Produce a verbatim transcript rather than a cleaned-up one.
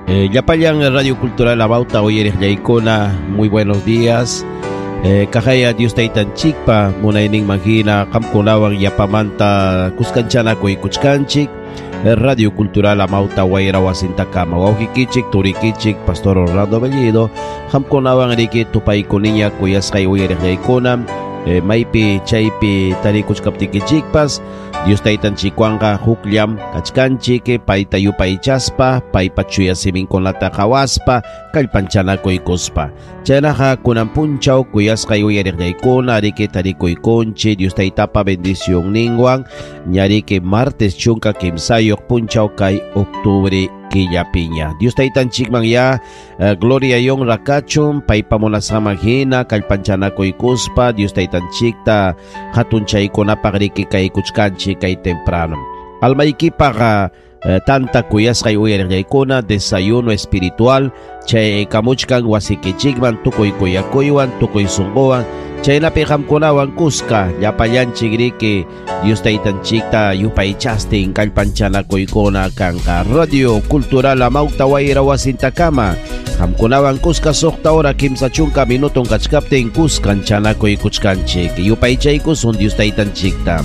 Eh, Llapallan Radio Cultural Amauta uyariqllaykuna, muy buenos días. Eh, kahaya Dios taytanchikpa munaynin mahina qamkunawan yapamanta kuskanchanakuy kuchkanchik. Eh, Radio Cultural Amauta wayra wasintakama wawqikichik turikichik Pastor Orlando Bellido qamkunawan riki tupaykuniña kuyasqay uyariqllaykuna. Eh, maypi chaypi tarikuchkaptikichikpas Dios taytanchikwanqa hukllam kachkanchik payta yupaychaspa paypa chuya siminkunata qhawaspa kallpanchanakuykuspa. Chaynaqa kunan punchaw kuyasqay uyariqllaykuna riki tarikuykunchik Dios taytapa bendicionninwan ñariki martes chunka kimsayuq punchaw kay octubre killapiña. Dios taytanchikman ya uh, gloria y honra kachun paypa munasqanman hina kallpanchanakuykuspa Dios taytanchikta hatunchaykunapaq riki kaykuchkanchik kay temprano. Almaykipaqa uh, tanta kuyasqay uyariqllaykuna desayuno espiritual chay kamuchkan wasikichikman tukuy kuyakuywan tukuy sunquwan chaynapi qamkunawan kuska llapallanchik riki Dios taytanchikta yupaychastin kallpanchanakuykuna kanqa. Radio Cultural Amauta wayra wasintakama qamkunawan kuska suqta hora kimsa chunka minuton kachkaptin kuskanchanakuykuchkanchik yupaychaykusun Dios taytanchikta.